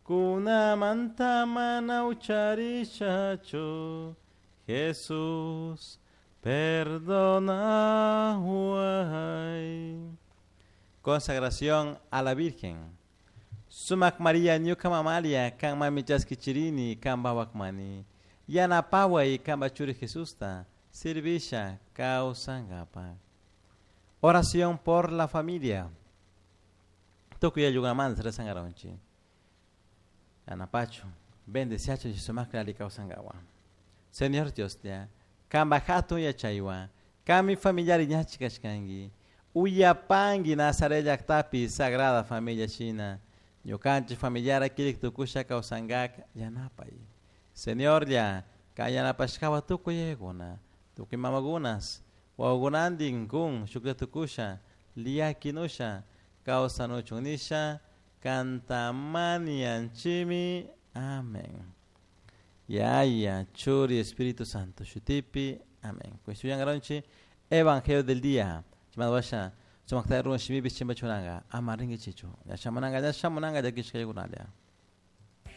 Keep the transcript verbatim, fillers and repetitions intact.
Kunamanta mana ucharishachu Jesús perdonahuay. Consagración a la Virgen. Sumac María ñuka mamalia kan mami chaskichirini kan bawakmani. Yanapaway kanpa churi Jesusta servisha kawsankapa. Oración por la familia. Tukuy ayllukunamanta rezankaranchik. Yanapachu, bendeciachu sumakta ali kawsankawa. Señor Dios ya, kanpa hatun yachaywan, kanmi familiari ñachi kashkanki. Uyapanki Nazaret llaktapi Sagrada Familia shina. Ñukanchik familiara kirik tukusha kawsankak yanapay. Señor ya, kan yanapashkawa tukuy yayakuna, tukuy mamakunas, wawakunantin kun shuklla tukusha, liyakinusha, kawsanuchun nisha, kantamanianchimi. Amén. Yaya, Churi, Espíritu Santo, Shutipi. Amén. Kushtuyangaronchi, Evangelio del día. Chimadwasha, sumakta ruwan shimipi chimbachunanga, ama ringichichu. Yashamananga, yashamunanga, yakishkayakunalia.